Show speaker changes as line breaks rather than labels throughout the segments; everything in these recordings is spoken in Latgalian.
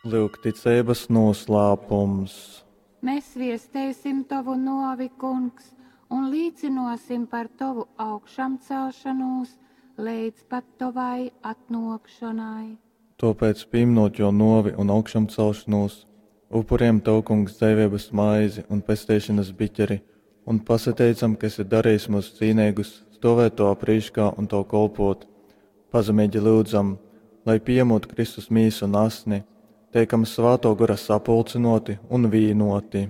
Lyugticeibas nūslāpums.
Mēs viesteisim tovu nōvi, Kungs, un līcynōsim par tovu augšamcelšanūs leidz pat tovai atnōkšonai.
Tōpēc, pīminot jō nōvi un augšamcelšanūs, upurējam Tev, Kungs, dzeiveibas maizi un pesteišanas biķeri un pasateicam, ka esi darījis mūs cīneigus stovēt Tavā prīškā un Tev kolpot. Pazemeigi lyudzam, lai pieņemot Kristus mīsu un asni, teikam Svātō Gora sapulcynōti un vīnoti.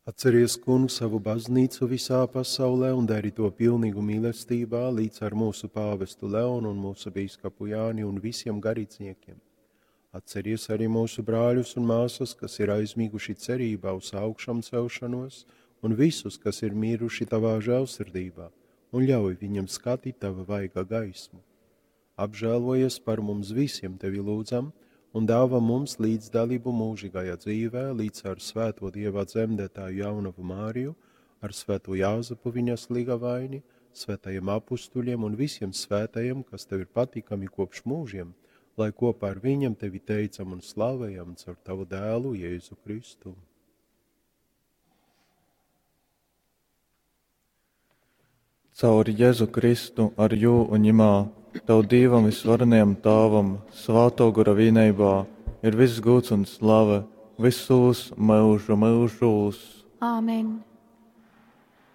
Atceries, Kungs, savu baznīcu visā pasaulē un dari to pilnīgu mīlestībā līdz ar mūsu pāvestu Leonu un mūsu bīskapu Jāni un visiem garīdzniekiem. Atceries arī mūsu brāļus un māsas, kas ir aizmiguši cerībā uz augšām celšanos, un visus, kas ir miruši tavā žēlsirdībā, un ļauj viņiem skatīt tava vaiga gaismu. Apžēlojies par mums visiem, tevi lūdzam, un dāvā mums līdzdalību mūžīgajā dzīvē, līdz ar svēto Dieva dzemdētāju jaunavu Māriju, ar svēto Jāzepu viņas ligavaini, svētajiem apustuļiem un visiem svētajiem, kas tev ir patīkami kopš mūžiem, lai kopā ar viņiem tevi teicam un slavējam caur tavu dēlu Jēzu Kristu.
Caur Jēzu Kristu ar jū un ņemā, Tev Dievam visvarenajam Tāvam, Svāto Gora vienībā, ir viss gūts un slave visos mūžu mūžos.
Āmen.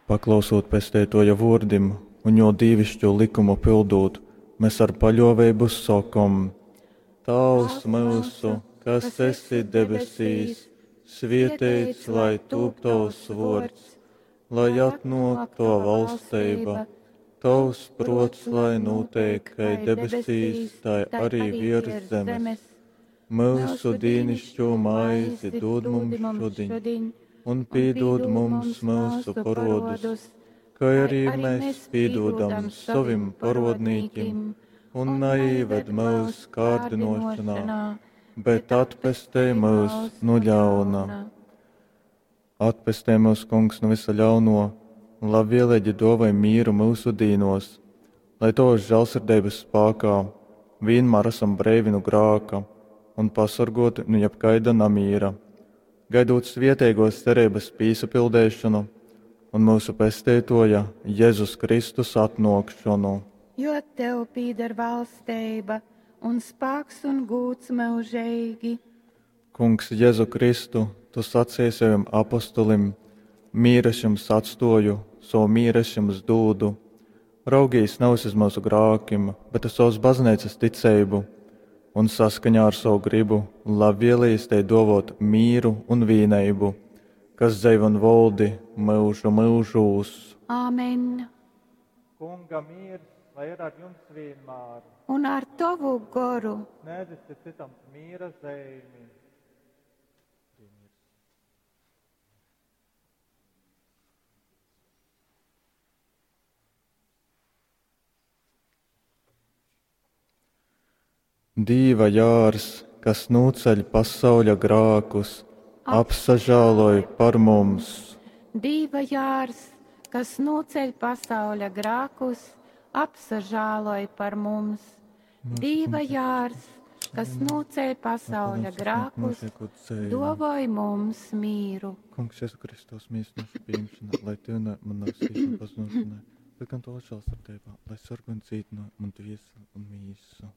Paklausot pestētoja vārdim un jo dīvišķo likumu pildot, mēs ar paļāvību sakam: Tēvs mūsu, kas esi debesīs, svietēts lai tūp tavs vārds, lai atnāk tava valstība, tavs prots, lai notiek, kai debesīs, tai arī virs zemes. Mūsu dīnišķo maizi dod mums šodien, un piedod mums mūsu parodus, kā arī mēs piedodam savim parodnīkim, un neieved mūsu kārdinošanā, bet atpestej mūs no ļauna. Atpestē mūs, Kungs, no visa ļauno, un labvēlīgi dāvāj mieru mūsu dīnos, lai tavas žēlsirdības spēkā vienmēr esam breivi no grāka un pasargoti no jebkaida namīra, gaidot svietēgos cerības pīsapildēšanu un mūsu pestētoja Jēzus Kristus atnākšanu.
Jo tev pīder valstība un spēks un gūts mūžīgi.
Kungs Jēzu Kristu, tu sacīji saviem apostolim, mīru es jums atstoju, savu mīru es jums dūdu. Raugīs nevis uz mūsu grākim, bet uz savas baznīcas ticību, un saskaņā ar savu gribu labvēlīs te dovot mīru un vīneibu, kas dzeiv un voldi mūžu mūžūs.
Āmen.
Kunga miers, lai ir ar jums vienmēr.
Un ar tavu goru.
Sniedziet citam mīra zīmi. Dīva jārs, kas nūceļ pasauļa grākus, apsažāloj par mums.
Dīva jārs, kas nūceļ pasauļa grākus, apsažāloj par mums. Dīva jārs, kas nūceļ pasauļa grākus, dovoj mums mīru.
Kungs, Jēzu Kristus, mīsnoša pieņemšana, lai Tev man nav pazušanai, bet gan to žēlsirdībā, lai sargu un cītino man dvieseli un mīsu.